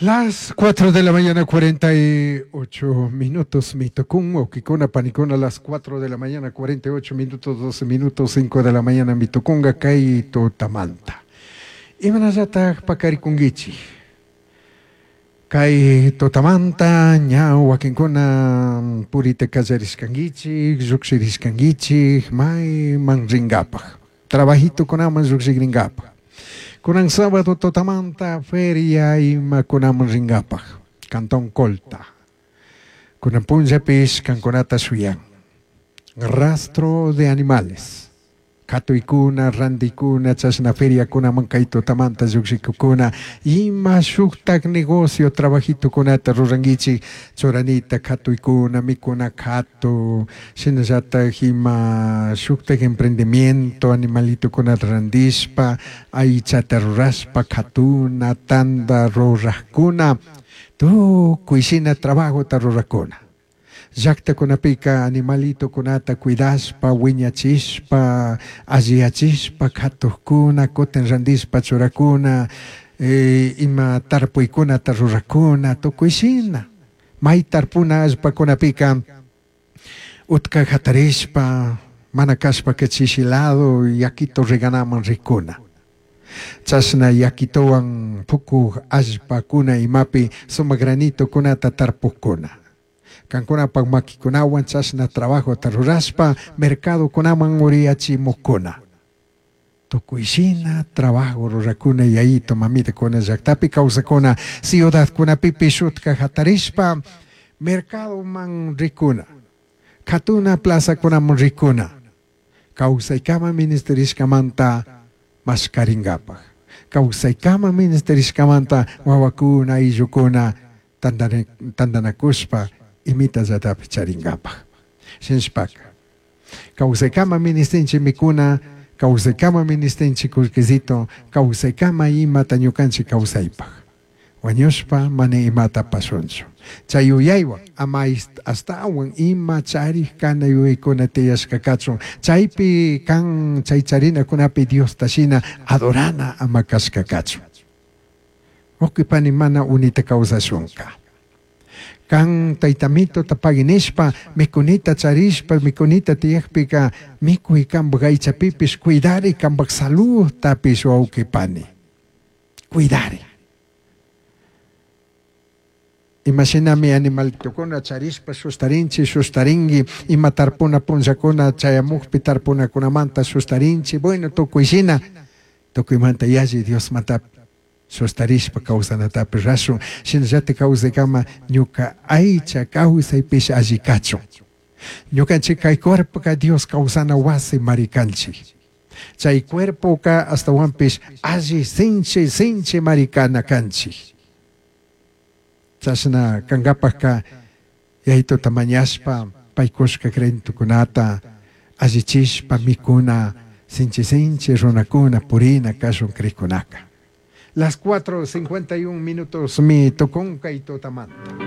Las 4 de la mañana, 48 minutos, mitocún, okikuna, panikuna, las 4 de la mañana, 48 minutos, 12 minutos, 5 de la mañana, mitukunga, kay tutamanta. Imanallataj pakarikunguichi. Kay tutamanta, ña wakinkuna purita kallarishkanguichik, llukshirishkanguichik, mayman ringapaj. Trabajitukunaman llukshikringapaj. Kunan sábado tutamanta feria imakunaman ringapaj. Cantón Colta. Kunan punllapish kankunata shuyan. Rastro de animales. Katuykuna, rantikuna, chashna feriakunaman kay tutamanta llukshikukuna, ima shuktak negocio trabajitukunata rurankichik, churanita katuykuna, mikuna katu, shinallatak ima shuktak emprendimiento, animalitukunata randishpa, aychata rurashpa, katuna, tanda rurakkuna, tukuy shina trabajota rurakuna. Llaktakunapika animalitukunata cuidashpa, wiñachishpa, alliyachishpa, katukkuna, kutin randishpa churakuna, ima tarpuykunata rurakuna, tukuy shina. May tarpuna allpakunapika utka hatarishpa, mana kashpaka chishi lado yakito reganaman rikuna. Chashna yakitowan pukuk allpakuna imapi sumak granitokunata tarpukkuna. Kankunapak makikunawan chashna trabajota rurashpa mercadokunaman uriyachimukuna. Tukuy shina trabajo rurakuna yayito mamitakuna llaktapi kawsakuna ciudadkunapipish utka hatarishpa mercadoman rikuna. Katuna plazakunaman rikuna. Kawsaykama ministerishkamanta mashkarinkapak. Kawsaykama ministerishkamanta wawakuna ayllukuna tandanakushpa imitallatapish charinkapak. Shinashpaka kawsaykama ministinchik mikuna, kawsaykama ministinchik kullkisito, kawsaykama imata ñukanchik kawsaypak. Wañushpa mana imata pashunchu. Chay yuyaywan ama ashtawan ima charik kana yuyaykuna tiyashka kachun. Chaypi kan chay charinakunapi Diosta shina adorana ama kashka kachun. Wawqi mana unita kawsashunka. Kan taytamituta pagui nishpa mikunita charishpa mikunita tiyakpika mikuy kanpak aychapipish cuidari kanpak saludtapish wawqi pani. Cuidari. Imashinami animalitukuna charishpa shustarinchik, shustarinki, ima tarpuna punllakuna chayamukpi tarpunakunamanta shustarinchik, bueno tukuy shina, tukuymanta yalli Diosmanta shustarishpa kawsanatapish rashun, shinallatik kawsaykama ñuka aycha kawsaypish alli kachun. Ñukanchik kay cuerpoka Dios kawsana wasi marikanchik. Chay cuerpoka ashtawanpish alli sinchi sinchi marikana kanchik. Chashna kankapakka yayituta mañashpa paykushka creentukunata allichishpa mikuna sinchi sinchi runakuna purina kashun krikunaka. Las 4:51 minutos mi tukunkay tutamanta.